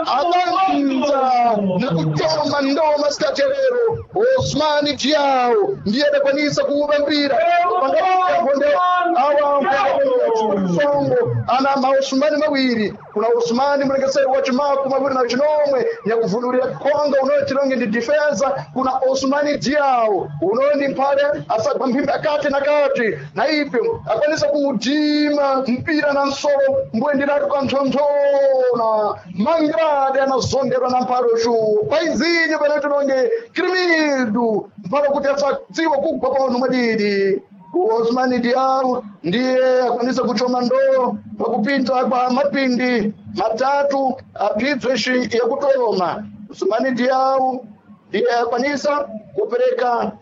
Abanza na kuchoma ndoma sikacherero. Osmani Diao ndiye adakwanisa kuuba mpira pangakonde awa songo ana maosumani mawiri. Kuna Osmani mlengeseri wa chimaku mawiri na chinomwe nyakuvunulira konga unoyo chilonge ndi defensa. Kuna Osmani Diao unoyo ndi mphale asagwa mphimbi akati na kati na ipyo akwanisa kudima mpira na nsolo mbwendiratu kanthonthona mangrade anazonderwa na mphale uxuwo paizinyo pene tilonge krimidu mphale kuti asadziwa kugwa pano mwadidi. Osmani Diao ndiye akwanisa kuchoma ndoo pakupinda kwa mapindi matatu apibveshi yakutoma. Osmani Diao ndiye akwanisa kupereka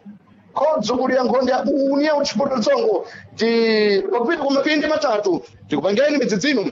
khodzo kuli ya nkhonde ya União Desportiva Tsongo ti pakupita kwa mapindi matatu tikupangeni midzidzino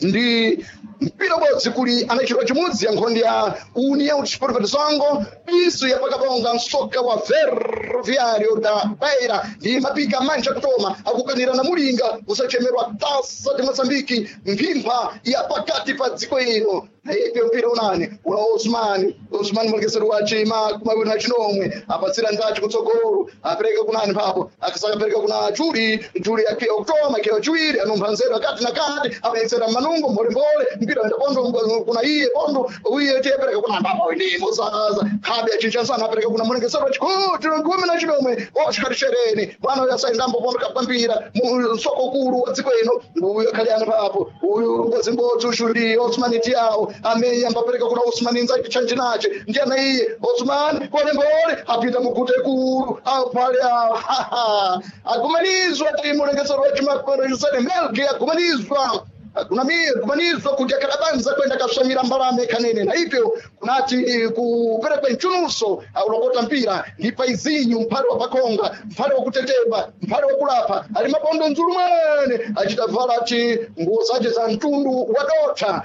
ndi mpira ubodzi kuli anachitwa chimudzi ya nkhonde ya União Desportiva de Songo piso ya pakabonga msoka wa Ferroviário da Beira ndi mapika manja kutoma akukanira na mulinga usachemerwa tasa de Moçambique mphimpha ya pakati pa dziko ino. Na ipyo mpira unani una Osmani. Osmani mulekeseri wa chima kumawiri na chinomwe apatsira nzachi kutsogolo apereka kunani papo akasakapereka kuna Juli. Juli akhiya kutoma akhiya chiwiri anumpha nzeru akati na kati amayesera manungo mbolembole mpira wenda pondo kuna iye pondo uye tiyepereka kuna papo ndimo zaza khabe achinchansana apereka kuna mulekeseri wa chikuti gumi na chinomwe Oscar Shereni mwana uyo asaendambo pondo kapambira msoko ukulu wa dziko ino uyo akhaliana papo uyu mbodzimbodzi ushuli Osmani Diao ameye ambapereka kuna Osmani nzake chanjinache ndiyana iye Osmani kolembole apita mugute kulu apale agumanizwa timulengesero wachimakorejusene melki agumanizwa agumanizwa kuti akadabanza kwenda kasvamira mbalame kanene na ipyo kunati kuperekwe mchunuso aulokota mpira ndi paizinyu mphale wa pakonga mphale wakutetemba mphale wakulapha ali mabondo nzulu mwene achitavala ti nguwo zace za mtundu wa dotha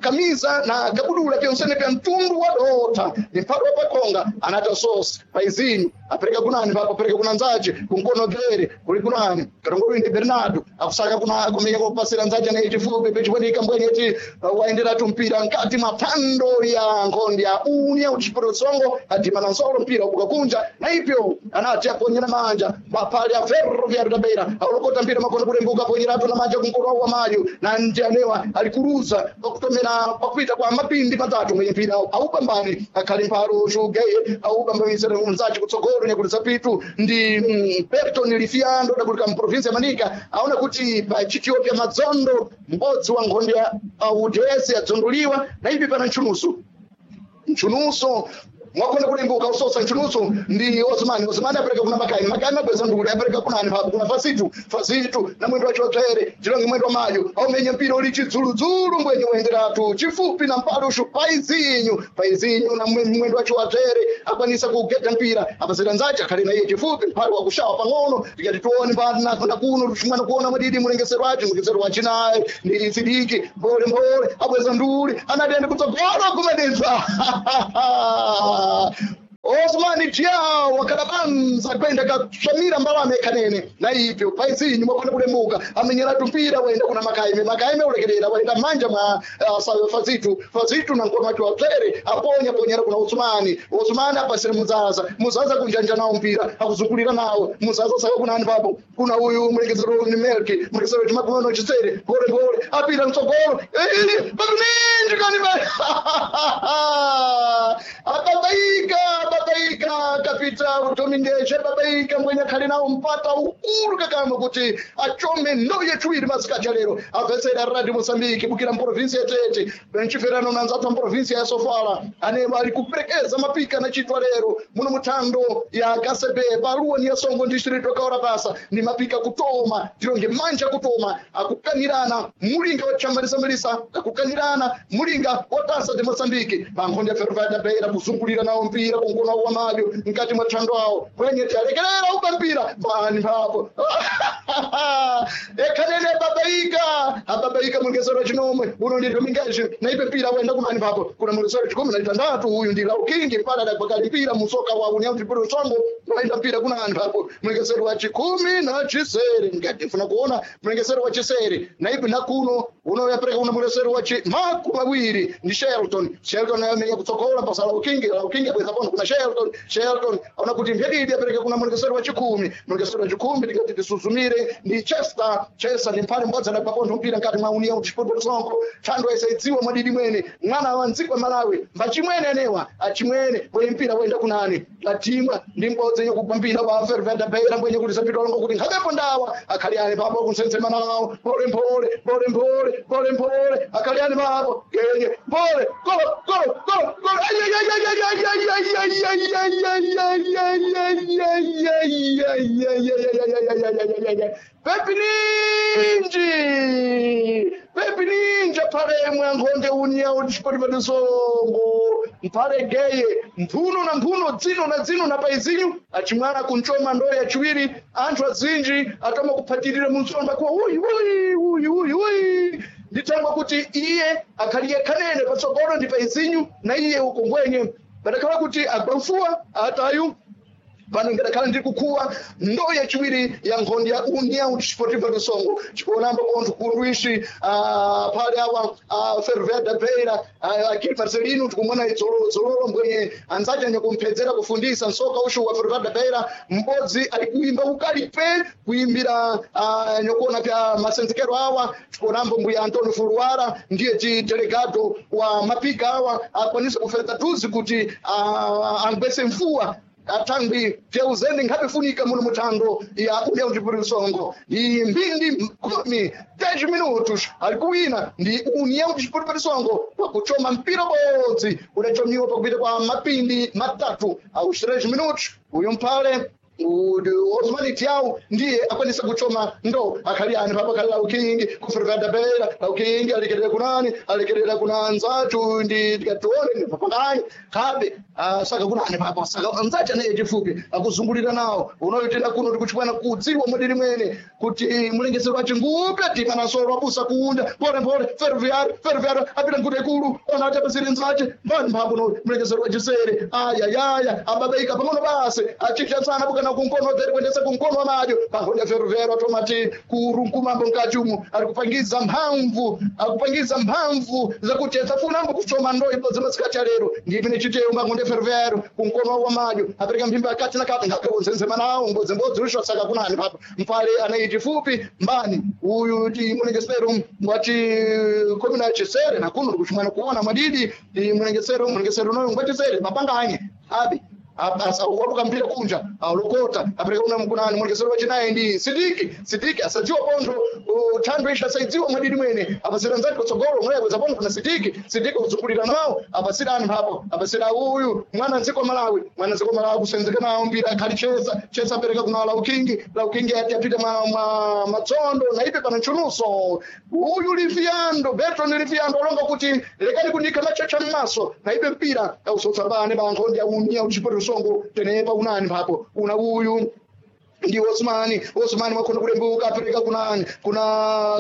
kamiza na kabudula pyonsene pya mtundu wa dotha ni mphale wa pakonga anata sosi paizinyu apereka kunani papo apereka kuna nzace kunkono bzere kuli kunani katongoli ndi Bernardo akusaka kuna kumenya kupasira nzace na chifupi pechipwendika mbwenye ti waenderatu mpira mkati mwa phando ya nkhonde ya União Desportiva Songo adima na nsolo mpira ubuka kunja na ipyo anati aponyera manja mapali ya Ferroviário da Beira aulokota mpira makono kulembuka aponyeratu na manja kunkono wa mayo na njanewa alikuruza pakutomera pakupita kwa mapindi matatu mwenye mpira aupambane akhali mphalo shugeye aupambamisira mzaci kutsogolo nyakuti zapitu ndi Berton Lifiando dakulika mprovinsi ya Manika aona kuti pa chitiopya madzondo mbodzi wa nkhonde ya UDS yadzonduliwa na ipi pana nchunusu nchunuso mwakhona kulimbuka usosa nchunuso ndi Osmani. Osmani apereka kuna Makaimi. Makaimi abweza nduli apereka kunani papo kuna Fasitu. Fasitu na mwendo wacho watsvere chilonge mwendo wa mayo aumenye mpira uli chidzuludzulu mbwenye wenderatu chifupi na mpalushu paizinyu paizinyu na mwendo wacho watsvere akwanisa kugeta mpira apasira nzache akhali na iye chifupi mphale wakushawa pang'ono tikati tione na kuno tuchimwana kuona mwadidi mulengesero wacho mulengesero wachinaye ndi Sidiki mbole mbole abweza nduli anatende kutsogolo kumededza Osmani Diao akadabanza kwenda katsvamira mbalame kanene na ipyo paizinyu mwakona kulembuka amenyeratu mpira waenda kuna Makaime. Makaime ulekerera waenda manja mwa Fazitu. Fazitu na nkoma wacho watsvere aponya ponyera kuna Osmani. Osmani apasire Muzaza. Muzaza kunjanja nawo mpira akuzungulira nawo Muzaza saka kuna ani papo kuna uyu mulekezero ni Melki mulekezero chimakuno chisere pole pole apira mtsogolo ili pakuninji kani ababaika babaika kapita Dominguez babaika mbwenye akhali nawo mpata ukulu kakama kuti achome ndo yechiwiri masikati alero apesera Radio Mozambique bukira mprovinsi ya Tete benchiferano nanzathu mprovinsi ya Sofala ane ali kuperekeza mapika na chitwa lero muno muthando ya Kasebe paluwa ni ya Songo district wakaora basa ni mapika kutoma tilonge manja kutoma akukanirana mulinga wa chamalisamalisa akukanirana mulinga wa tasa de Mozambique pankhonde ya Ferroviária da Beira kuzungulira nawo mpira kunkono wa madyo mkati mwa thando awo kwenye tiyalekerera upa mpira pani papo ekhanene babaika Ababaika mulekesero wachinomwe uno ndi Dominguez naipe mpira wenda kunani papo kuna mulekesero chikumi na chitandatu uyu ndi Laukingi pala adapakali mpira musoka wa União Desportiva Songo waenda mpira kunani papo mulekesero wa chikumi na chisere ngati funa kuona mulekesero wa chisere naipe nakuno unoyapereka kuna mulekesero wa chi makumi awiri ndi Shelton. Shelton amenya kutsogola pasa Laukingi. Laukingi abweza pono kuna Shelton. Shelton ona kuti mphedidi apereka kuna mulekesero wa chikumi. Mulekesero wa chikumi tikati tisuzumire ndi Chester. Chester ndi mphale mbodzi adagwa mpira mkati mwa União Desportiva Songo thando isaidziwa mwadidi mwene mwana wa mdziko wa Malawi mbachimwene anewa achimwene bwenye mpira wenda kunani atimwa ndi mbodzi yenye kugwa mpira wa Fervenda Beira mbwenye kuti sapita longo kuti nkhapepo ndawa akhali ane papo kunsensema nawo pole pole pole pole pole pole akhali ane papo genye pole golo golo golo golo Pepininji Pepininji pale mwankhonde União Desportiva do Songo mpale geye mphuno na mphuno dzino na dzino na paizinyu achimwana kunchoma ndoyo yachiwiri anthu azinji atoma kuphatirira munsomba kuwa uyi uyi uyi uyi uyi ndithangwa kuti iye akhaliye khanene patsogolo ndi paizinyu na iye ukongwenye padakhala kuti agwamfuwa atayu pano ngadakhala ndiri kukhuwa ndo yachiwiri ya nkhondo ya União Desportiva do Songo chikuonambo pontho kundwishi phale awa Ferveda Beira Akili Marcelino tikumona dzololo mbwenye anzace anyakumphedzera kufundisa nsoka ushu wa Ferveda Beira m'bodzi ali kuimba ukalipe kuimbira nyokuona pya masenzekero awa tikuonambo mbuya Antonio Fuluara ndiye ti delegado wa mapika awa akwanisa kufedza tuzi kuti angwese mfuwa atangwi vyauzende nkhapefunika muno muthando ya União Desportiva Songo ndi mbindi kumi 10 minutos ali kuwina ndi União Desportiva Songo pakuchoma mpira bodzi udachomiwa pakupita kwa mapindi matatu aos 3 minutos uyu mphale Osman Tiao ndiye akwanisa kuchoma ndo akhali ani papa khali Laukingi kuferveda Beira Laukingi alekerera kunani alekerera kuna anzathu ndi tikatione ndi papangani khabe saka kunani papa saka anzathi anaye chifupi akuzungulira nawo unoyitenda kuno tikuchipwana kudziwa mwadiri mwene kuti mulengesero wace ngupe timanasoro abusa kuunda pole pole ferroviário ferroviário apita nkuti ikulu ona ati apasire nzace mbani mphambu no mulengesero wachisere ayayaya ababaika pang'ono basi achinjatsana bukana kunkono dheri kuendesa kunkono wa madyo pankhonde ferroviário atomati kurunkumambo mkati umu ari kupangiza mphamvu akupangiza mphamvu zakuti asafunambo kuchoma ndo ibodzi masikati alero ndipine chiteyo mbankhonde ferroviário kunkono wa madyo apereka mphimba akati na kati ngakawonzenzema nawo mbodzimbodzi usho saka kunani papa mpale anayi chifupi mbani uyu ti mulengesero ngwati komina chisere nakuno ndikuchimwana kuona mwadidi ti mulengesero mulengesero noyo ngwati sere mapanganye abi abasa wabuka mpira kunja alokota apereka una mkunani mulekesero wachinayi ndi sidiki sidiki asadziwa pontho thando isha asaidziwa mwadidi mwene apasira nzati kutsogolo mwebweza pontho kuna sidiki sidiki kuzungulira nawo apasira anthu apo apasira uyu mwana ndziko Malawi mwana ndziko Malawi kusenzeka nawo mpira akhali chesa chesa apereka kuna Laukingi Laukingi ati apite mwa mwa matsondo na ipe pana nchunuso uyu Liviando Berton Liviando alonga kuti lekani kundikha machacha m'maso na ipe mpira ausotsa bane bankhondi ya União Desportiva Songo tenepa unani mphapo una uyu ndi Osmani Osmani wakhona kulembuka apereka kunani kuna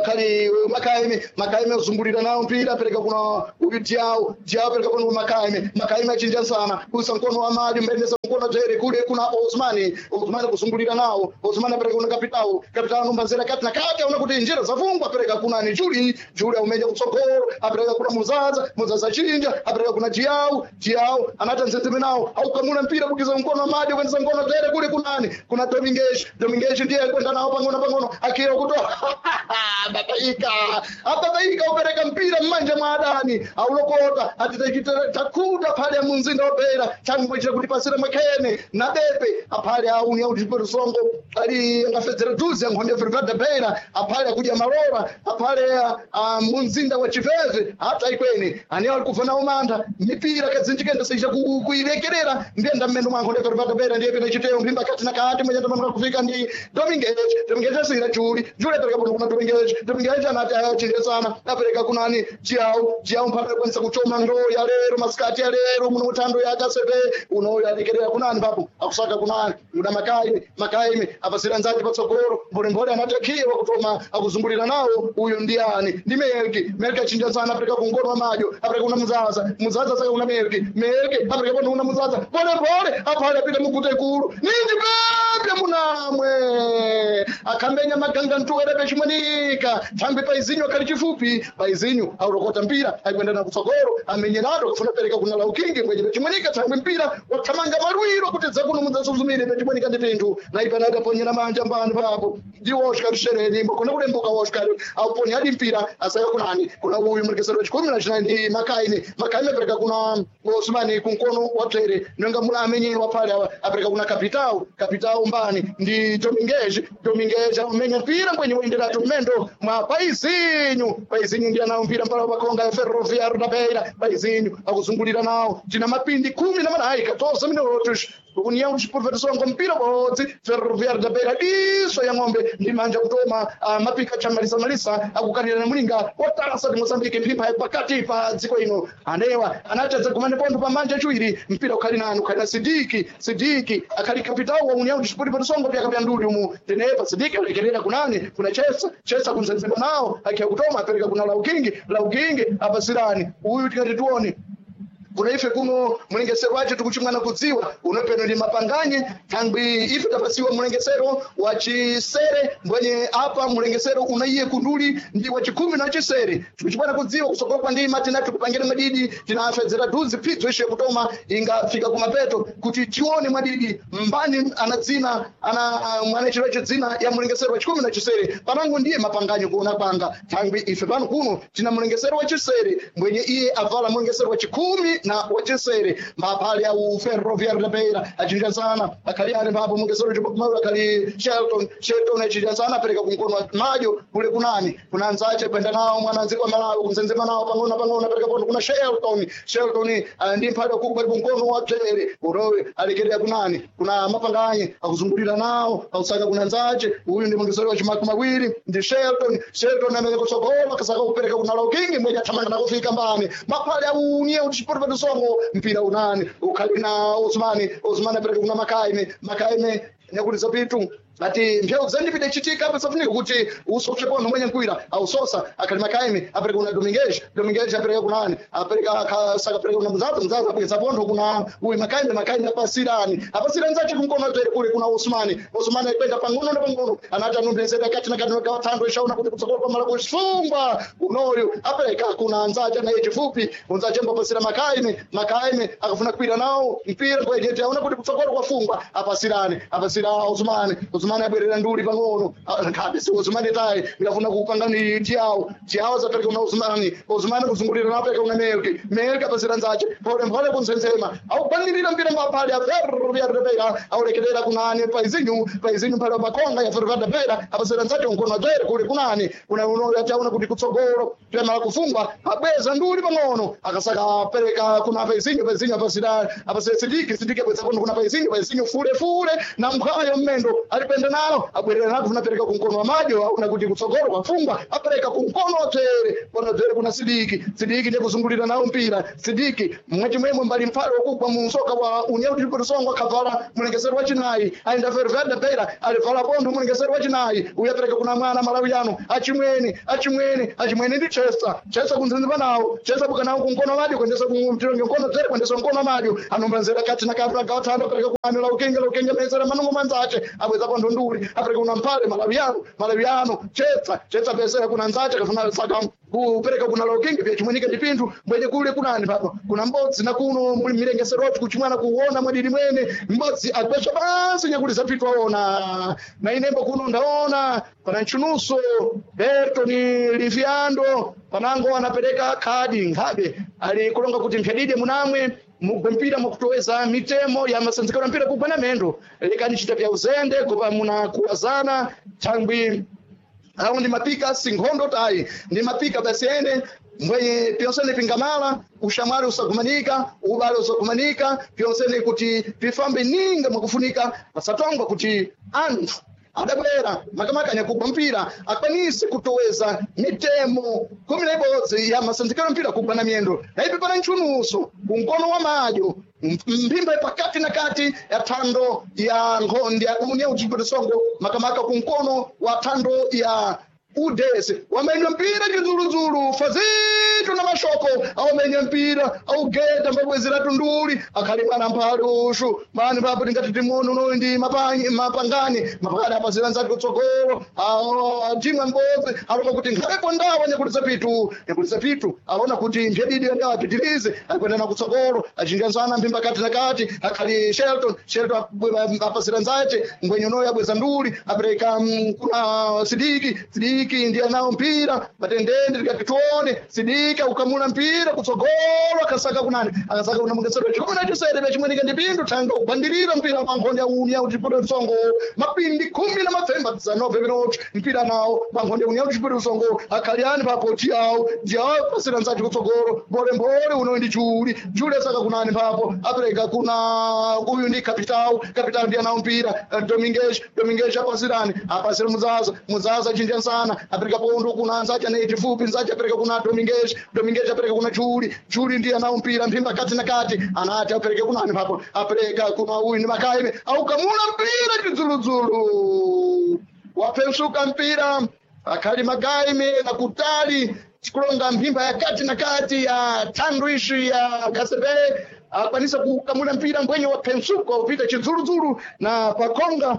khali Makaime Makaime uzungulira nawo mpira apereka kuna uyu Diao Diao apereka kuna Makaime Makaime achinja sana kusa mkono wa mali mbendesa mkono jere kule kuna Osmani Osmani kuzungulira nawo Osmani apereka kuna Kapitao Kapitao numbanzira kati na kati aona kuti njira zafungwa apereka kuna ni Juli Juli aumeja kutsogolo apereka kuna Muzaza Muzaza chinja apereka kuna Diao Diao anata nzenzeme nawo aukamula mpira kukiza mkono wa mali kuendesa mkono jere kule kunani kuna Dominguez Dominguez ndiye kwenda nao pang'ono pang'ono akira kutoa babaika ababaika upereka mpira mmanja mwa adani aulokota atitakuda phale ya munzinda wa Beira changwechera kuti pasira mwakhene na bepe aphale a União Desportiva Songo ali angafedzera duzi ankhonde Fervada Beira aphale akudya malora aphale a munzinda wa Chiveve hata ikwene ani ali kufa nawo mantha mipira kadzinjikenda seija kuilekerera ndiyenda mmendo mwa ankhonde Fervada Beira ndiye pina chiteyo mphimba kati na kati mwenyenda mwa kufika ndi Dominguez. Dominguez asira Juli, Juli apereka pono kuna Dominguez. Dominguez anati ayachinjesana, apereka kunani Jiao, Jiao mpaka kwanisa kuchoma ndoo ya lero masikati ya lero muno mutando ya kasepe unoyo alekerera kunani papo akusaka kunani muda Makaime, Makaime apasira nzake patsogolo mbolembole anatakiwa kutoma akuzungulira nawo uyu ndiani ndi Melki. Melki achinja sana apereka kungono wa madyo apereka kuna Muzaza, Muzaza saka kuna Melki, Melki apereka pano kuna Muzaza pole pole apale apita mugute ikulu ninji pepya munamwe akambenya maganga ntuwere pechimonika thambi paizinyu akali chifupi paizinyu aurokota mpira aikwenda na kutsogolo amenyerado kufuna pereka kuna laukingi mwenye pechimonika thangwi mpira wathamanga malwiro kuti dzakuno mudzasuzumire pechimonika ndi pinthu naipana adaponyera manja mbani papo ndi Oscar Shereni mbokona kulembuka Oscar auponya adi mpira asaya kunani kuna uyu murekesero wechikumi na chinayi ndi Makaine. Makaine apereka kuna Osmani kunkono wa tere nonga mula amenyewa pale awa apereka kuna Kapitao, Kapitao mbani ndi Dominguez. Dominguez amenya mpira mbwenye uenderatu mmendo mwa Paizinyu. Paizinyu ndiye anawo mpira mpala pakonga ya Ferroviário da Beira. Paizinyu akuzungulira nawo tina mapindi 14 14 minutos união desportiva mpira bodzi Ferroviário da Beira diso ya ng'ombe ndi manja kutoma mapika cha malisa malisa akukanira na mulinga watasa ndi Mozambique mphimpha ya pakati pa dziko ino anewa anatadza gumane pontho pa manja chiwiri mpira ukhali nanu ukhali na Sidiki. Sidiki akhali kapitao wa União Desportiva Songo pyaka nduli umu tenepa Sidiki alekerera kunani kuna Chesa, Chesa kumzenzema nawo akhiya kutoma apereka kuna Laukingi, Laukingi apasirani uyu tikati tuone kuna ife kuno mulengesero wacho tikuchimwana kudziwa unopeno ndi mapanganye thangwi ife tapasiwa mulengesero wa chisere mbwenye apa mulengesero unaiye kunduli ndi wa chikhumi na chisere tikuchimwana kudziwa kusokopa ndima tina tikupangira madidi tinafedzera duzi phidzo ishe kutoma ingafika kumapeto kuti tione mwadidi mbani ana dzina ana mwana chiro dzina ya mulengesero wa chikhumi na chisere panango ndiye mapanganyo kuona panga thangwi ife pano kuno tina mulengesero wa chisere mbwenye iye avala mulengesero wa chikhumi na wachisere maphale au Ferroviário da Beira achinjazana akhali ali mpapo mulengesero chimaula akhali Shelton, Shelton achinjazana apereka kunkono wa madyo kule kunani kuna nzache kwenda nawo mwana nziko Malawi kumzenzema nawo pang'ono pang'ono apereka pono kuna Shelton. Shelton ndi mphale wakulu pali kunkono wa tere urowe alekerera kunani kuna mapanganye akuzungulira nawo akusaka kuna nzache uyu ndi mulengesero wa chimakumi mawiri ndi Shelton. Shelton amene kutsogolo akasaka kupereka kuna Laukingi mwenye athamanga nakufika mbani maphale au União Desportiva do Songo mpira unani ukhali na Osmani. Osmani apereka kuna Makaime, Makaime nyakuliza pitu ati mphewu zendipita ichitika apa safunika kuti usoshe pono mwenye nkwira ausosa akhali Makaime apereka kuna Dominguez. Dominguez apereka kunani apereka akasaka apereka kuna Mzaza, Mzaza apereka pontho kuna uyu Makaime. Makaime apasirani apasirani zache kunkono tere kule kuna Osmani. Osmani akwenda pang'ono na pang'ono anati anumbezera kati na kati gawa thando ishaona kuti kutsogolo pamala kusungwa unoyu apereka kuna nzache naye chifupi unzache mbapasira Makaime. Makaime akafuna kwira nawo mpira kwejete aona kuti kutsogolo kwafungwa apasirani apasira Osmani. Osmani abwerera nduli pang'ono nkhabe si Osmani tayi ndikafuna kupanga ni Tiawo, Tiawo zapereka kuna Osmani. Osmani kuzungulira nawo apereka kuna Melki, Melki apasira nzache pole pole kumsenzema aupanirira mpira mbaphale Ferroviário da Beira aulekerera kunani Paizinyu, Paizinyu mphale wapakonga ya Ferroviário da Beira apasira nzache unkono adzere kule kunani kuna unoyo atiaona kuti kutsogolo tuyamala kufungwa abweza nduli pang'ono akasaka apereka kuna Paizinyu, Paizinyu apasira apasira Sidiki, Sidiki abweza kono kuna Paizinyu, Paizinyu fule fule na mkhayo mmendo alipenda nalo abwerera nako kunapereka kunkono wa madyo aona kuti kutsogolo kwafungwa apereka kunkono wa tsere kono tsere kuna Sidiki. Sidiki ndiye kuzungulira nawo mpira Sidiki mwachimwemwe mbali mphale wakugwa mu msoka wa União Desportiva Songo akavala mulengesero wa chinayi aenda Ferroviário da Beira alivala pontho mulengesero wa chinayi uyu apereka kuna mwana Malawiano achimwene achimwene achimwene ndi Chester, Chester kunzenzema nawo Chester buka nawo kunkono madyo kuendesa kumtironge nkono tsere kuendesa nkono madyo anombanzera kati na kati gawa thando apereka kunani Laukinge, Laukinge mezera manungo manzache abweza pontho nduli apereka kuna mphale Malawiano, Malawiano Chester, Chester pesera kuna nzache kafuna saka kupereka kuna Laukingi pya chimwenika ndi pinthu mbwenye kule kunani papo kuna mbodzi na kuno muli milengesero wathu kuchimwana kuona mwadidi mwene mbodzi akwesha pansi nyakuti zapitwa ona na inembo kuno ndaona pana nchunuso Berto ni Liviando panango anapereka khadi nkhabe ali kulonga kuti mphyadide munamwe mugwe mpira mukutoweza mitemo ya masanzikano ya mpira kugwa na mendo lekani chita vya uzende kupa muna kuwazana thangwi awo ndi mapika sinkhondo tayi ndi mapika basi ene Mbwenye pyonsene pingamala ushamwali usagumanika, ubale usagumanika, pyonsene kuti pifambe ninga mwakufunika, pasatongwa kuti anthu adabwera makamaka anyakugwa mpira akwanise kutoweza mitemo 11 ya masenzekero mpira kugwa na miyendo. Na ipi pana ntchunuso kumkono wa madyo, mphimba pakati na kati ya thando ya nkhonde ya União Desportiva Songo, makamaka kumkono wa thando ya udese wamenya mpira chidzuludzulu Fazitu na mashoko awamenya mpira augeta mbabwezera tunduli akhali mwana mphali ushu mani papo tingati timuone unoyu ndi mapangani mapangani apazira nzati kutsogolo timwe mbodzi alonga kuti nkhaleko ndawa nyakulisa pitu, nyakulisa pitu alona kuti mphedidi yandawa apitirize akwendana kutsogolo achinjanzana mphimba kati na kati akhali Shelton. Shelton apazira nzace ngwenye unoyu abweza nduli apereka kuna Sidiki. Sidiki ndiye nao mpira matendende tikati tuone Sidiki ukamuna mpira kutsogolo akasaka kunani, akasaka kuna mungesero 17 pachimwenika ndi pindu thanga kubandirira mpira pa nkhonde ya União Desportiva Songo. Mapindi 10 na mapfemba 19 minuti mpira nawo pa nkhonde ya União Desportiva Songo. Akhaliani papo Diawo. Diawo pasira nzati kutsogolo mbolembole uno ndi Juli. Juli asaka kunani papo apereka kuna uyu ndi Capital. Capital ndiye nawo mpira. Dominguez. Dominguez apasirani, apasira Muzaza. Muzaza chinja nsana apereka pondo kuna nzacha ne chifupi nzacha apereka kuna Dominguez. Dominguez apereka kuna Juli. Juli ndiye nawo mpira mphimba kati na kati anati apereke kunani papo apereka kuna uyu ndi Makaime aukamuna mpira chidzuludzulu wapensuka mpira akhali Magaime na kutali chikulonga mphimba ya kati na kati ya thandu ishi ya Kasebe akwanisa kukamula mpira mbwenye wa pensuko upita chidzuludzulu na pakonga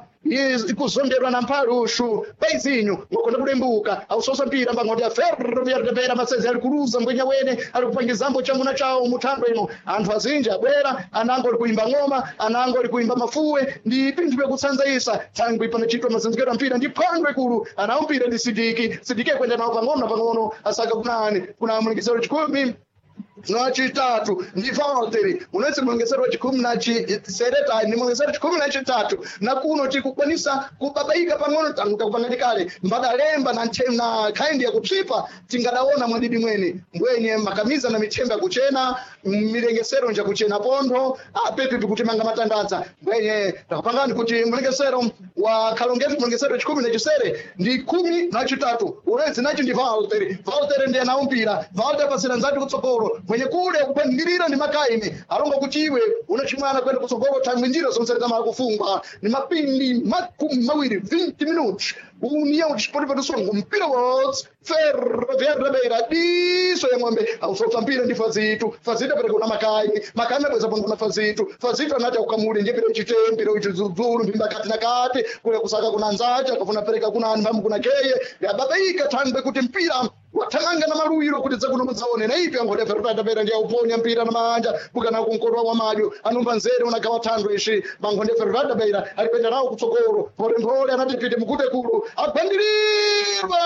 ikuzonderwa na mphali ushu paizinyu ngokonda kulembuka ausosa mpira mbangoti ya Ferroviário masezi ali kuluza mbwenya wene ali kupangizambo chamuna chawo muthando ino. Anthu azinji abwera, anango ali kuimba ng'oma, anango ali kuimba mafuwe ndi pinthu pyakutsanzaisa thangwi panachitwa mazenzekero a mpira ndi phwando ikulu. Anawo mpira ndi Sidiki. Sidiki akwenda nawo pang'ono na pang'ono asaka kunani kuna mulekesero 13 ndi Valteri unonse mulongesero wa 17 ni mulongesero 13 na kuno tikukwanisa kubabaika pang'ono tanguka kupangani kale mbadalemba na na khaindi yakupsipa tingadaona mwadidi mwene mbwenye makamiza na michemba yakuchena milengesero njakuchena pontho apepi pikutimanga matandadza mbwenye takupangani kuti mlengesero wa kalongetu mulongesero 17 ndi 13 unonse nacho ndi Valteri. Valteri ndiye nawo mpira. Valteri pasira nzati kutsogolo mwenye kule kupandilira ndi Makaime alonga kuti iwe unachimwana kwenda kutsogolo thangwi njira zonse zamala kufungwa ni mapindi 20, 20 minutos. União Desportiva do Songo mpira wotsi Ferroviário da Beira diso ya ng'ombe ausotsa mpira ndi Fazito. Fazito apereka kuna Makaime. Makaime abweza pano kuna Fazito. Fazito anati aukamule ndiye pira uchite mpira uchidzuludzulu mphimba kati na kati kule kusaka kuna nzacha akafuna pereka kuna anthu kuna keye yababaika thangwe kuti mpira wathamanga na maluwiro kuti dzakuno mudzaone na ipi angoda Ferroviário Beira ndiye auponya mpira na manja bukana kunkodwa wa madyo anumba nzere unagawa thando ishi bankhonde Ferroviário Beira alipenda nawo kutsogolo mphole anati pite mukute kulu agwandirirwa,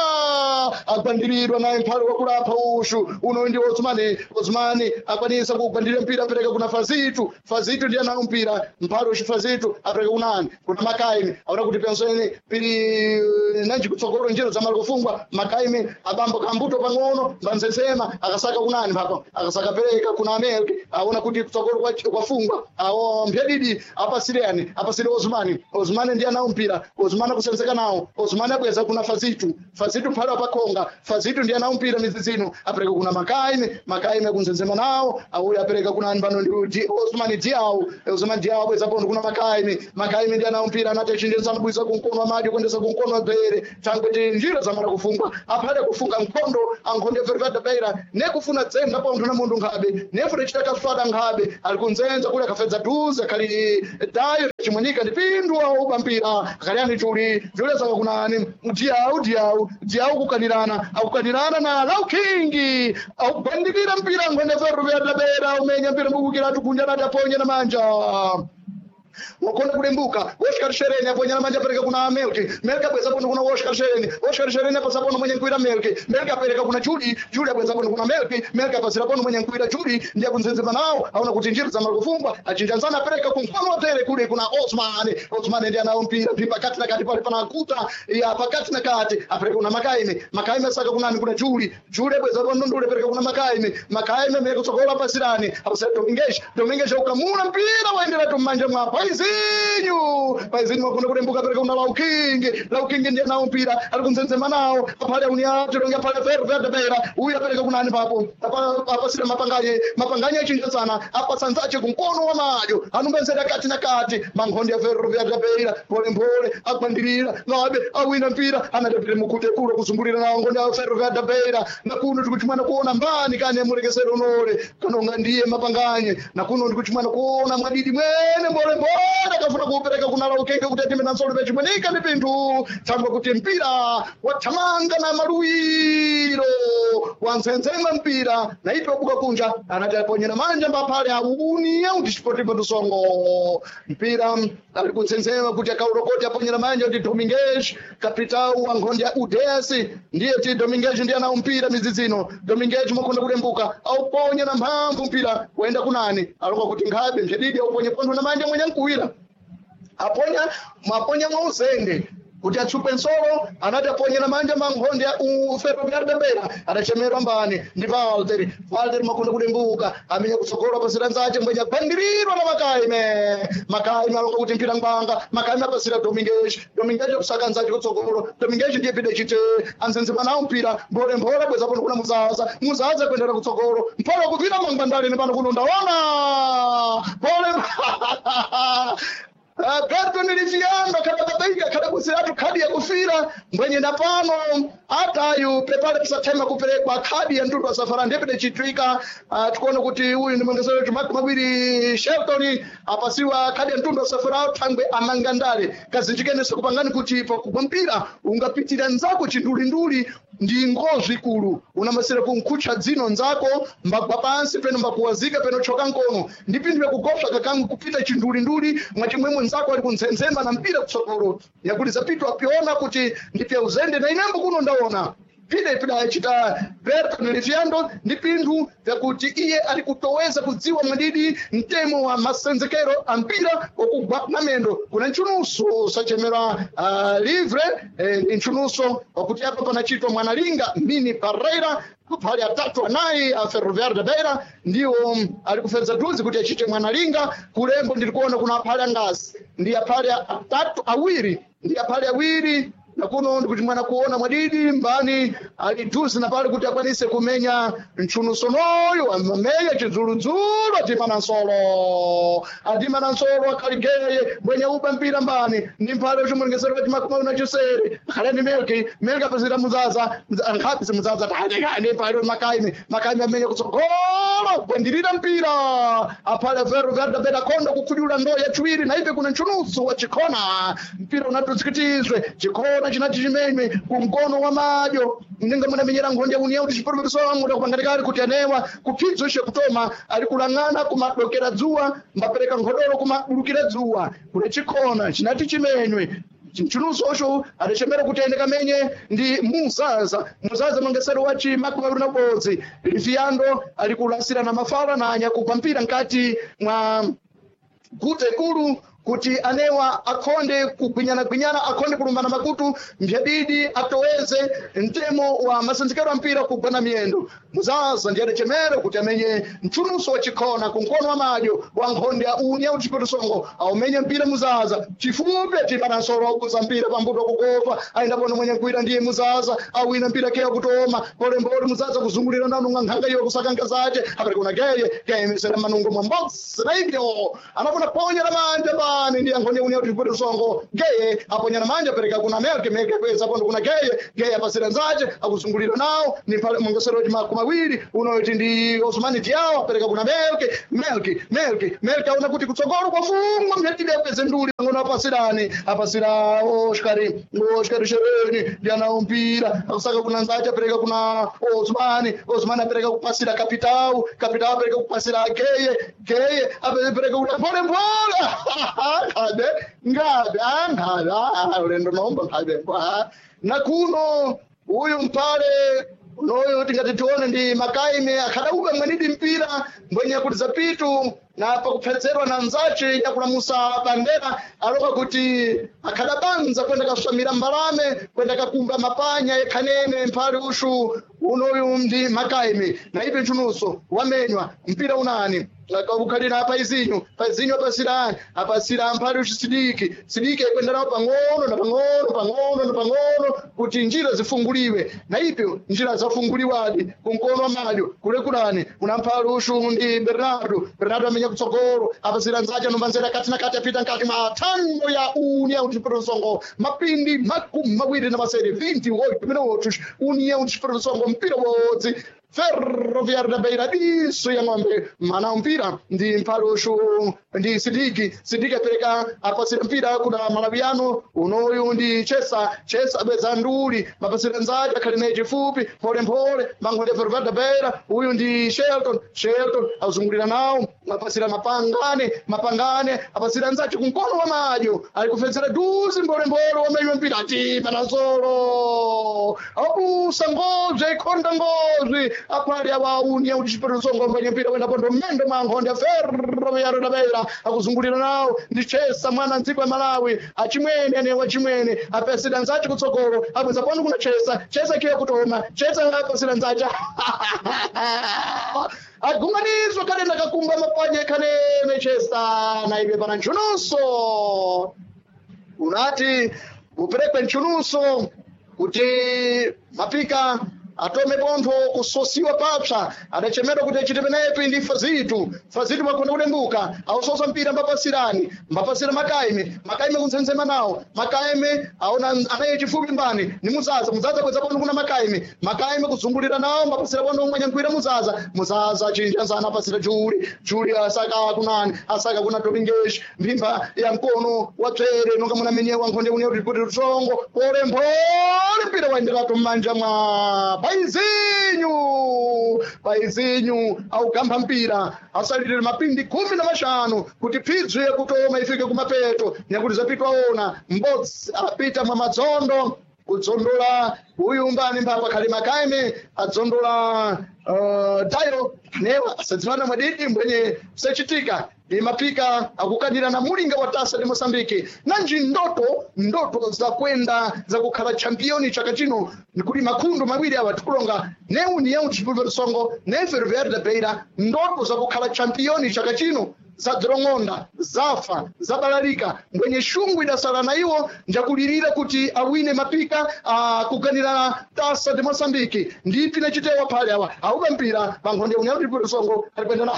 agwandirirwa naye mphale wakulapha ushu uno ndi Osmani. Osmani akwanisa kugwandira mpira apereka kuna Fazitu. Fazitu ndiye anawo mpira mphale ushu Fazitu apereka kunani kuna Makaime aona kuti pensoni pili nanji kutsogolo njira zamala kufungwa. Makaime abambo kambuto pang'ono mbanzesema akasaka kunani papa akasaka pereka kuna Amerika aona kuti kutsogolo kwafungwa awo mphedidi apasireni apasire Osmani. Osmani ndiye anawo mpira. Osmani akusenzeka nawo. Osmani abweza kuna Fazitu. Fazitu mphale wapakhonga. Fazitu ndiye anawo mpira mizizino apereka kuna Makaime. Makaime akunzenzema nawo auyo apereka kuna ani pano ndi Osmani Diawo. Osmani Diawo abweza pondo kuna Makaime. Makaime ndiye anawo mpira anati achinjesa mabwisa kumkono wa madyo kuendesa kumkono wa bere thangwe njira zamala kufungwa aphale kufunga mkondo ankhonde Ferroviário Beira nekufuna dzenga pontho na munthu nkhabe nefuna chita kaswada nkhabe ali kunzenza kuli akafedza duze akhali dayo chimwenika ndi pindu auba mpira akhali ani chuli julesaka kunani Diawu. Diawu, Diawu kukanirana akukanirana na Lau King augwandikira mpira nkhonde Ferroviário Beira umenya mpira mbukukira tukunja nati aponye na manja. Wakonda kulembuka Oscar Shereni aponyana manja apereka kuna Melki. Melki abweza pono kuna Oscar Shereni. Oscar Shereni apasa pono mwenye nkuira Melki. Melki apereka kuna Juli. Juli abweza pono kuna Melki. Melki apasira pono mwenye nkuira Juli ndiye kunzenzema nawo aona kuti njira za malufungwa achinjanzana apereka kumfano watere kule kuna Osman. Osman ndiye anao mpira pakati na kati pale panakuta ya pakati na kati apereka kuna Makaime. Makaime asaka kunani kuna Juli. Juli abweza pono ndule apereka kuna Makaime. Makaime mwe kutsogola pasirani apasira Dominguez. Dominguez ukamuna mpira waendera tumanja mwa Paizinho. Paizinho wakunda kulembuka apereka kuna Laukingi. Laukingi ndiye nao mpira ari kunzenzema nawo apale uniacho donga pale ferro verde bera uyu apereka kunani papo apasira mapanganye. Mapanganye achinja sana apasanzache kumkono wa madyo anumbenzera kati na kati mangondi ya ferro verde bera pole pole agwandirira ngabe awina mpira anatapire mukute kulo kuzungulira nawo ngondi ya ferro verde bera na kuno tikuchimwana kuona mbani kane mulekesero unole kanonga ndiye mapanganye na kuno ndikuchimwana kuona mwadidi mwene mbole mbole akafuna kuupereka kuna laukenge kuti atime nansolo pechimwenika ndi pinthu tsamba kuti mpira wathamanga na maluwiro wanzenzema mpira na ipe wabuka kunja anati aponyera manja mbaphale aunia kuti chipotipo tusongo mpira ali kunsenzema kuti akaurokoti aponyera manja kuti Dominguez kapitau wa nkhondi ya UDS ndiye ti Dominguez ndiye anawo mpira midzidzino. Dominguez mwakonda kulembuka auponya na mphamvu mpira waenda kunani aloka kuti nkhabe mchedidi auponye pontho na manja mwenye nkuwira aponya mwaponya mwauzende kuti atsupe nsolo anati aponye na manja mankhonde ya Ferroviário de Beira adachemerwa mbani ndi Valter. Valter makunda kulembuka amenya kutsogolo apasira nzache mbwenya gwandirirwa na Makaime. Makaime alonga kuti mpira ngwanga. Makaime apasira Dominguez. Dominguez akusaka nzache kutsogolo. Dominguez ndiye pide chite anzenzema nawo mpira mbole mbole bweza pano kuna Muzaza. Muzaza kuendera kutsogolo mpolo kupita mangwandali pano kuno ndaona pole Berton Liviano kada kada kusiratu khadi ya kufira mbwenye ndapano atayu pepale pisathema kuperekwa khadi ya ntundu wa safara ndepede chitwika. Tikuona kuti uyu ndi mwongesero chimaki mawiri Shelton apasiwa khadi ya mtundu wa safara thangwe amangandale kazinjikenese kupangani kuti pakugwa mpira ungapitira nzako chindulinduli ndi ngozi ikulu unamasira kunkhucha dzino nzako mbagwa pansi peno mbakuwazika peno choka nkono ndi pinthu yakugopsa kakamwe kupita chindulinduli mwachimwemwe nzako ali kunzenzemba na mpira kutsogolo yakuti zapitwa apiona kuti ndipya uzende na inembo kuno ndaona pide pidachita Berton Liviando ndi pinthu vyakuti iye ali kutoweza kudziwa mwadidi mtemo wa masenzekero a mpira wakugwa na mendo kuna nchunuso sachemera livre ndi nchunuso wakuti apa panachitwa mwanalinga mini Parreira pali atatu anayi a Ferroviário de Beira ndiwo ali kufedza duzi kuti achite mwanalinga kulembo ndilikuona kuna aphale angazi ndi aphale atatu awiri ndi aphale awiri na kuno ndikuti mwana kuona mwadidi mbani ali duzi na pale kuti akwanise kumenya mchunusonoyo amamenya chidzuludzulu atima na nsolo atima na nsolo akhaligeye mbwenye uba mpira mbani ndi mphale uchimulengesero pati makumi na chisere akhale ndi Melki. Melki apasira Muzaza nkhapi Muzaza tahatekani pale Makaime. Makaime amenya kutsogolo gwandirira mpira aphale Ferroviário da Beira konda kukhudula ndo yachiwiri na ipe kuna mchunuso wa chikhona mpira unatuzikitizwe chikhona chinati chimenywe kumkono wa madyo ninga munamenyera nkhonde ya união tichiporomeriso kupangatikali kuti anewa kuphidzo ishe kutoma ali kulang'ana kumadokera dzuwa mbapereka nkhodolo kumadulukira dzuwa kune chikhona chinati chimenywe mchunuso adachemera kuti aende kamenye ndi Muzaza. Muzaza mwengesero wa chimakumi mawiri na ubodzi Liviando ali kulasira na mafala na anyakugwa mpira nkati mwa gute kulu kuti anewa akhonde kugwinyana-gwinyana akhonde kulumbana makutu mbyadidi atoweze mtemo wa masenzekero a mpira kugwana miyendo. Muzaza ndiye adachemera kuti amenye mchunuso wa chikhona kunkono wa madyo wa nkhonde ya unia uchipetusongo aumenye mpira Muzaza chifupi atipanasolo auguza mpira pambuto kukopa aenda pono mwenye nkuira ndiye Muzaza awina mpira keya kutoma polembole Muzaza kuzungulira nanu nkhanga iyo kusaka nkazace apereka geye geye misera manungo mwambodzi na ibyo anafuna ponya la manja ba ndi ankhonde unia uchipetusongo geye aponya na manja apereka kuna Melke. Melke kweza pondo kuna geye. Geye apasira nzace akuzungulira nawo ni pale mwongesero wa makumi mawiri unoti ndi Osmani Diao apereka kuna Melke. Melke Melke Melke aona kuti kutsogolo kwafungwa mhetide apeze nduli ngono apasirani apasira Oscar. Oscar Shereni ndi anawo mpira akusaka kuna nzace apereka kuna Osmani. Osmani apereka kupasira Kapitau. Kapitau apereka kupasira Geye. Geye apereka kuna pole pole Nkhabe nkhabe nkhabe ulendo nomba nkhabe na kuno uyu mpale unoyu tingati tione ndi makaime akhadauka mwenidi mpira mbwenye kuti zapitu na pakupfedzerwa na nzace yakulamusa bandera aloka kuti akhadabanza kwenda kaswamira mbalame kwenda kakumba mapanya yekhanene mphale ushu unoyu ndi makaime na ipi ntchunuso wamenywa mpira unani ukhalira paizinyo paizinyo apasira ani apasira mphale ushu sidiki sidiki akwenda nawo pang'ono na pang'ono pang'ono na pang'ono kuti njira zifunguliwe na ipyo njira zafunguliwadi kumkono wa madyo kule kulani kuna mphale ushu ndi bernardo bernardo amenya kutsogolo apasira nzace anombanzera kati na kati apita nkati mwa thando ya união de Songo mapindi 28 28 minutos União de Songo mpira wodzi Ferroviário da Beira diso ya ng'ombe mana mpira ndi mphalushu ndi sidiki sidiki apereka apasira mpira kuna malawiano unoyu ndi chesa chesa abweza nduli mapasira nzaje akhali naye chifupi mpholemphole mankhonde Ferroviário da Beira uyu ndi Shelton Shelton azungulira nawo mapasira mapangane mapangane apasira nzache kumkono wa madyo ali kufedzera duzi mpholemphole wamenywa mpira ati panazolo abusa ngozve ikhonda ngozve apali awaunia kuti chiperesongo mbwenye mpira wenda pondo mmendo mwa nkhonde Ferroviário da Beira akuzungulira nawo ndi chesa mwana mdziko ya Malawi achimwene ane wachimwene apasira nzache kutsogolo abweza pano kuna chesa chesa kiye kutoma chesa apasira nzache agumanizwa kalenda kakumba mapanya kanene chesa na ibe pana nchununso unati uperekwe nchununso kuti mapika atome pontho kusosiwa papsa adachemedwa kuti achite penepi ndi fazitu fazitu makhona kulembuka awusosa mpira mbapasirani mbapasira makaime makaime kuntsensema nawo makaime aona anaye chifupi mbani ni muzaza muzaza bweza pontho kuna makaime makaime kuzungulira nawo mbapasira pontho mwanyankhwira muzaza muzaza chinjanzana apasira juli juli asaka kunani asaka kuna topingeshi mphimba ya mkono wa tswere nonga munamenyewa nkhonde une kuti rutsongo pole mphole mpira waenderatu m'manja mwa paizinyu paizinyu augamba mpira asalirira mapindi 15 kuti pfidzu yekutoma ifike kumapeto nyakuti zapitwa ona mbodzi apita mwa madzondo kudzondola uyu mbani mpapa khali makaime adzondola tayo newa asadziwana mwadidi mbwenye sechitika ni mapika akukanira na mulinga wa tasa de Mosambiki nanji ndoto ndoto za kwenda za kukhala championi chaka chino nikuli makhundu mawiri awa tikulonga ne União de Songo ne Ferroviário da Beira ndoto za kukhala championi chaka chino zadzirong'onda zafa zabalalika mbwenye shungu idasala na iwo njakulirira kuti awine mapika akuganira tasa de Mosambiki ndipi nachitewa phale awa auka mpira pankhonde União de Songo alikwenda na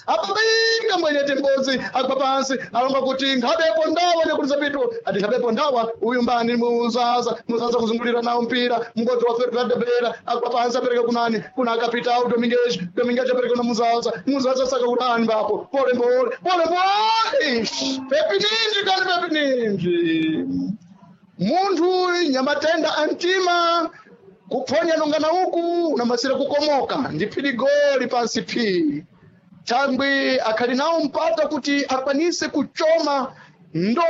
apapinga mwenye timbozi agwa pansi alonga kuti nkhabepo ndawa nyakuliza pitu ati nkhabepo ndawa uyu mbani muzaza muzaza kuzungulira nawo mpira mngodzi wa Ferroviário da Beira agwa pansi apereka kunani kuna kapitao Domingues Domingues apereka kuna muzaza muzaza saka kunani mbapo pole pole pole pole pepi ninji kani pepi ninji munthu nyamatenda antima kuphonya nongana uku unamasira kukomoka ndi phiri goli pansi phiri thangwi akhali nawo mpata kuti akwanise kuchoma ndo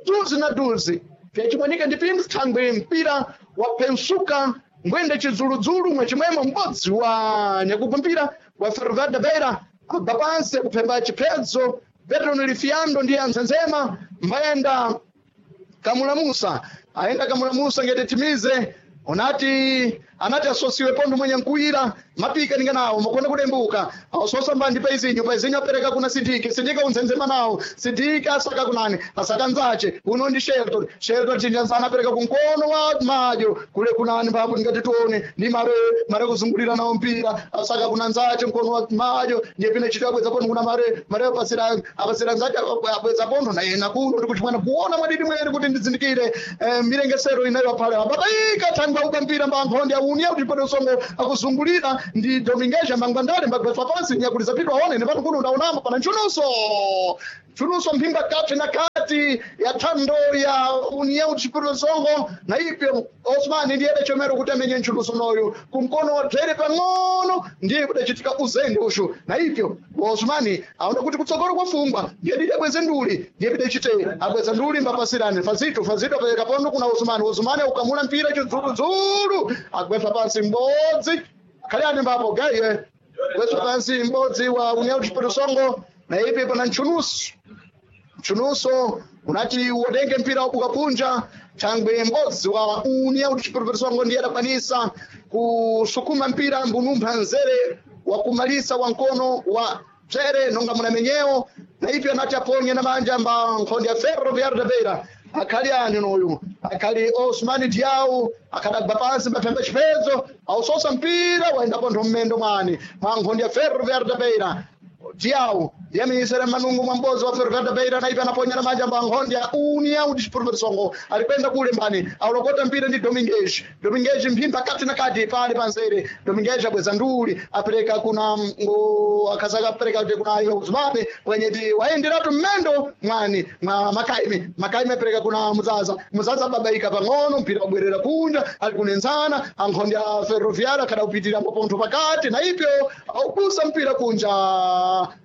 duzi na duzi fyachimwanika ndi pinthu thangwi mpira waphensuka ngwende chidzuludzulu mwechimwemo m'bodzi wa nyakugwa mpira wa Ferroviário da Beira agwa pansi kuphemba chiphedzo Petro Lifiando ndiye anzenzema mbayenda Kamula Musa ayenda Kamula Musa ngete timize unati anati asosiwe pondo mwenye nkuira mapika ninga nawo makona kulembuka asosa mbandi paizinyo paizinyo apereka kuna sidiki sidiki unzenzema nawo sidiki asaka kunani asaka nzache uno ndi Shelton Shelton chinjanzana apereka kunkono wa madyo kule kunani mbapo ndingati tione ndi mare mare kuzungulira nawo mpira asaka kuna nzache mkono wa madyo ndiye pine chito abweza pondo kuna mare mare apasira apasira nzache abweza pondo na yena kuno ndikuchimwana kuona mwadidi mwene kuti ndizindikire mirengesero inayo apale ababaika thangwa uka mpira mbankhonde aunia kuti pano songo akuzungulira ndi Dominguez mangwandale mbagwetsa pansi nyakuliza pitwa aone ne pano kuno ndaonamo pana nchununso Nchunuso mphimba kati na kati ya thando ya União Desportiva Songo na ipyo Osman ndiye adachomera kuti amenye nchunuso noyo kumkono wa dzere pang'ono ndiye kudachitika uzende ushu na ipyo Osman aona kuti kutsogolo kwafungwa ndiye didi abweze nduli ndiye pidachite abweza nduli mbapasirani Fazito Fazito apereka pondo kuna Osman Osman aukamula mpira chidzuludzulu agwetsa pansi m'bodzi khalani mbapo gaiye gwetsa pansi m'bodzi wa União Desportiva Songo na ipi pana nchunuso nchunuso unati uwotenge mpira wabuka punja thangwe m'bodzi wa União Desportiva Songo ndiye adakwanisa kusukuma mpira mbunumpha nzere wakumalisa wa mkono wa tsere nonga munamenyewo na ipi anati aponye na manja mba nkhondi ya Ferroviário da Beira akhali ani noyu akhali Osman Diau akadagwa pansi mbaphemba chiphedzo ausosa mpira waenda pontho mmendo mwani mwa nkhondi ya Ferroviário da Beira Diau yamisere manungu mwambozi wa Ferroviário da Beira naipi anaponya na manja mba ya União Desportiva Songo alikwenda kule mbani aulokota mpira ndi Domingues Domingues mphimba kati na kati pale panzere Domingues abweza nduli apereka kuna akazaka apereka kuti kuna iye Usmane kwenye ti waenderatu mmendo mwani mwa Makaime Makaime apereka kuna Muzaza Muzaza babaika pang'ono mpira wabwerera kunja ali kunenzana ankhondi ya Ferroviário akadaupitirira pontho pakati na ipyo aubusa mpira kunja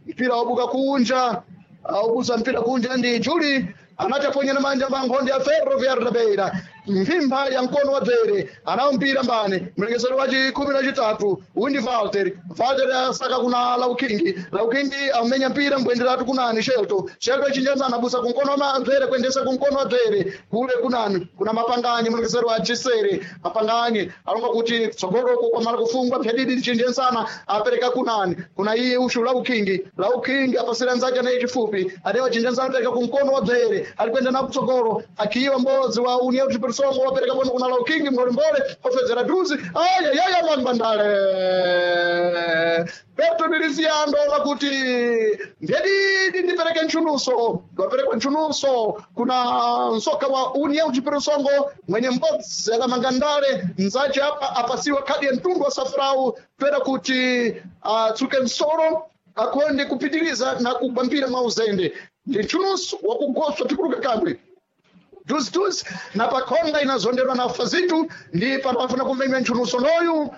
mpira wabuka kunja aubusa mpira kunja ndi Juli anati aponye na manja mbankhondi ya Ferroviário da Beira mphimba ya mkono wa dzere anawo mpira mbani mlekesero wa chikhumi na chitatu uyu ndi Walter Walter asaka kuna Laukingi Laukingi amenya mpira mbwenderatu kunani Shelto Shelto achinjanzana abusa kumkono wa dzere kuendesa kumkono wa dzere kule kunani kuna Mapanganyi mlekesero wa chisere Mapanganyi alonga kuti tsogoloko kwamala kufungwa mphedidi chinjensana apereka kunani kuna iye ushu Laukingi Laukingi apasira nzake naye chifupi adewa chinjensana apereka kumkono wa dzere alikwenda na kutsogolo akiwa mbodzi wa União Desportiva Songo wapereka pono kuna Laukingi mbolembole ofedzera duzi ayayaya mambandale Petro Miliciano lakuti ndedidi ndipereke nchunuso waperekwa nchunuso kuna msoka wa União Desportiva Songo mwenye mbodzi akamangandale mzace apa apasiwa khadi ya mtundu wa safrau twera kuti atsuke msoro akonde kupitiriza na kugwa mpira mwa uzende ndi nchunuso wakugoswa tikuluka kamwe duziduzi na pakhonga inazonderwa na Fazitu ndi pano afuna kumenya nchunuso noyu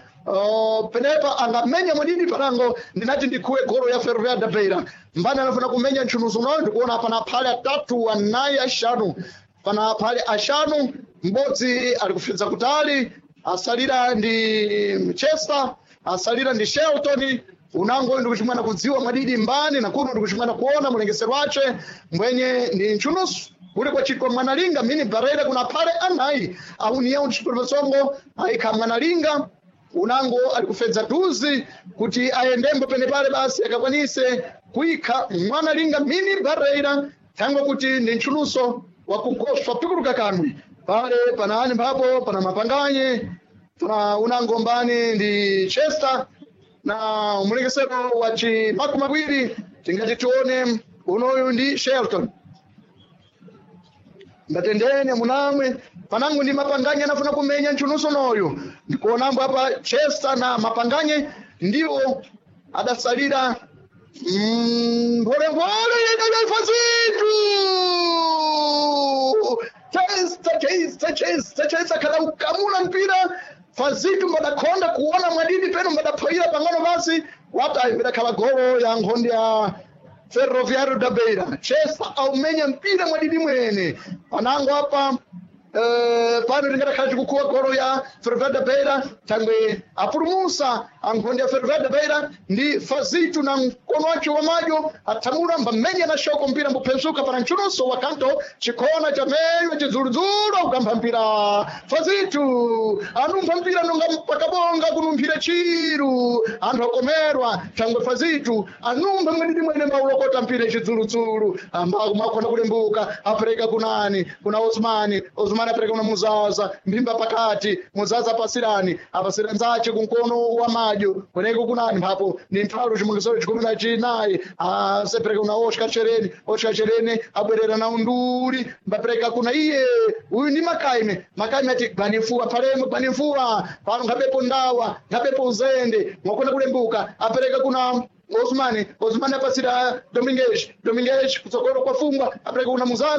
penepa angamenya mwadidi parango ndinati ndikhuwe goro ya Ferroviário da Beira mbani anafuna kumenya nchunuso noyu ndikuona pana phale atatu anayi axanu pana phale axanu m'bodzi ali kufidza kutali asalira ndi Chester asalira ndi Shelton unango ndikuchimwana kudziwa mwadidi mbani na kuno ndikuchimwana kuona mulengesero wace mbwenye ndi nchunusu kuli kwachitwa mwanalinga mini barreira kuna phale anayi a União Desportiva Songo ayikha mwanalinga unango ali kufedza duzi kuti ayendembo penepale basi akakwanise kuikha mwanalinga mini barreira thangwe kuti ndi nchuluso wakugoswa pikuluka kamwe pale pana ani mphapo pana mapanganye pana unango mbani ndi Chester na mulekesero wa chimakumi mawiri tingati tione unoyu ndi Shelton ndatendene munamwe panangu ndi mapanganye anafuna kumenya nchunuso noyu ndikuonambo apa Chester na mapanganye ndiwo adasalira mpholemphole Fazitu Chester Chester Chester Chester kada ukamula mpira Fazitu mbadakhonda kuona mwadidi peno mbadaphoyira pang'ono basi watayi mbadakhala golo ya nkhondi ya Ferroviário da Beira Chester aumenya mpira mwadidi mwene panango apa pano tingatakhala tikukhuwa golo ya Ferroviário da Beira thangwe apulumusa ankhondi ya Ferroviário da Beira ndi Fazitu na mkono wace wa madyo athamula mbamenya na shoko mpira mbuphezuka pana nchunuso wa kanto chikhona chamenywa chidzuludzulu akukampha mpira Fazitu anumpha mpira nonga pakabonga kunumphira chiru anthu akomerwa thangwe Fazitu anumpha mwenidi mwene maulokota mpira chidzuludzulu ambakumakhona kulembuka apereka kunani kuna Osmani Osmani apereka kuna Muzaza mphimba pakati Muzaza apasirani apasira nzace kunkono wa madyo kweneko kunani mphapo ni nthalo chimungisero chikumi na chinayi asepereka kuna Oscar Chereni Oscar Chereni abwerera na unduli mbapereka kuna iye uyu ndi Makaime Makaime ati gwanimfuwa palemo gwanimfuwa pano nkhabepo ndawa nkhabepo uzende mwakona kulembuka apereka kuna Osmani, Osmani apasira Domingues, Domingues kutsogolo kwa fungwa apereka kuna Muzaza.